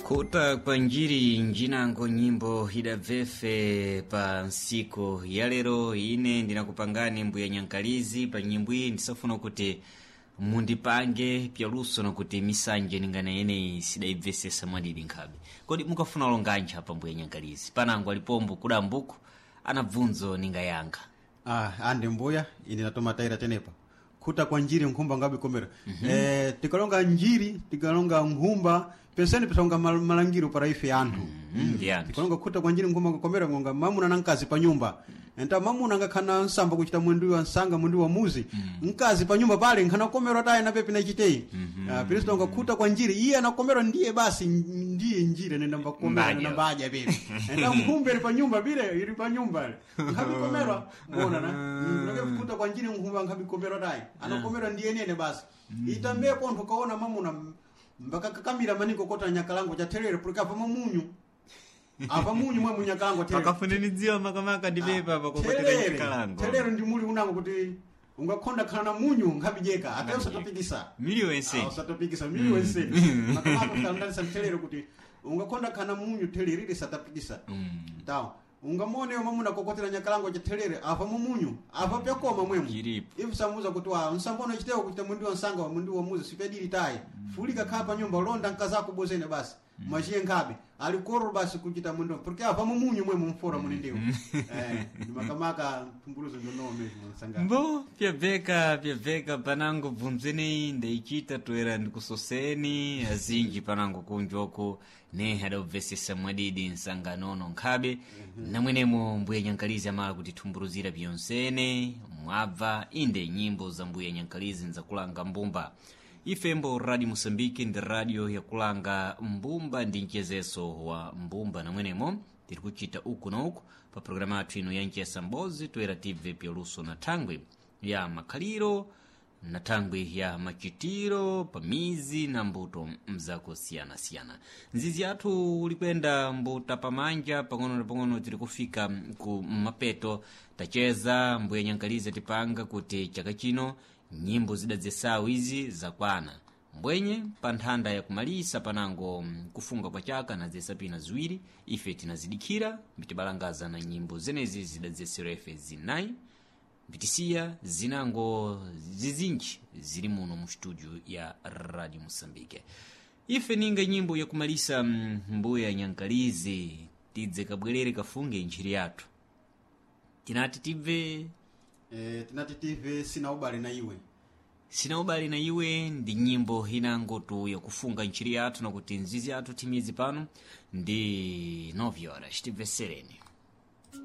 Khuta kwa njiri njinango nyimbo idabvefe pa nsiku ya lero. Ine ndinakupangani mbuya Nyankalizi pa nyimbo iyi, ndisafuna kuti mundipange pyaluso nakuti misanje ningana yeneyi sidaibvesesa mwadidi nkhabe. Kodi mukafuna longanji apa mbuya Nyankalizi? Panango alipombo kudambuku ana bvunzo ningayankha. Ah, ande mbuya, ine natoma taira tenepa khuta kwa njiri nkhumba ngabikomera. Tikalonga njiri, tikalonga nkhumba, penseni pisonga malangiro para ife anthu. Ndi anthu. Tikalonga khuta kwa njiri nkhumba ngakomera, ngonga mamuna na mkazi pa nyumba. Enta mamuna ngakhana nsamba kuchita mwendu wa nsanga, mwendu wa muzi, mkazi pa nyumba pale nkhana komerwa tayi na pepi na chiteyi. Pilisto nga khuta kwa njiri iye anakomerwa ndiye basi ndiye njiri nenda mbakomera. Mbadya. Nenda mbadya pepi. Enta nkhumba ili pa nyumba bile ili pa nyumba nkhabikomerwa mbona na khuta kwa njiri nkhumba nkhabikomerwa tayi anakomerwa ndiye nene basi itambe pontho kaona mamuna mbakakakamira maniko kota nyakalango cha therere porque apa mamunyu, apa munyu mwe munyakalango therere. Pakafunanidziwa makamaka ndi pepa pakokotera Therere, nyakalango. Therere ndi muli unango kuti ungakhonda khala na munyu nkhabijeka ate usatapikisa. Miliyo yense. Ah, usatapikisa miliyo yense makamaka usalandanisa mtherere kuti ungakhonda khala na munyu therere ili satapikisa. Tawo ungamuoneyo mamuna kokotera nyakalango cha therere apa mumunyu apa pyakoma mwemu. Chiripo. Ifu samuza kuti wa nsambono chitewo kuchita mwindi wa nsanga wa mwindi wa muzi sipyadili tayi fulika khala pa nyumba londa nkazako bozene basi mwachiye nkhabe alikoro basi kuchita mwindi porque apa mumunyu mwemu mfora muni ndiwo ndimakamaka mphunguluzo ndonome nsanga. Mbo pyabveka pyabveka panango bvunzeneyi ndeichita toera ndikusoseni azinji panango kunjoko ne adabvesesa mwadidi nsanganono nkhabe namwenemo mbuya Nyankalizi amala kutithumbuluzira pyonsene mwabva inde nyimbo za mbuya Nyankalizi nzakulanga mbumba. Ifembo Radio Moçambique ndi radio yakulanga mbumba ndi mchezeso wa mbumba, namwenemo tiri kuchita uku na uku pa programa yathu ino ya mchesa mbozi toera tibve pyaluso na thangwi ya makhaliro na thangwi ya machitiro pamizi na mbuto mzakosiyanasiyana. Nzizi yathu ulikwenda mbuta pamanja pang'ono na pang'ono tiri kufika ku mapeto. Tacheza mbuya Nyankalizi tipanga kuti chaka chino nyimbo zidadzesawu izi zakwana mbwenye pa nthanda yakumalisa panango kufunga kwa chaka nadzesa pina ziwiri ife tinazidikhira mbitibalangaza na nyimbo zenezi zidadzeserwa ife zinayi mbitisiya zinango zizinji zili muno mu studio ya Radio Moçambique. Ife ninga nyimbo yakumalisa mbuya Nyankalizi tidze kabwerere kafunge ntchiri yathu tinati tibve. Tinati tive sina ubale na iwe. Sina ubale na iwe ndi nyimbo inangotu yakufunga ntchiri yathu nakuti nzizi yathu timidzi pano ndi 9 horas tibvesereni.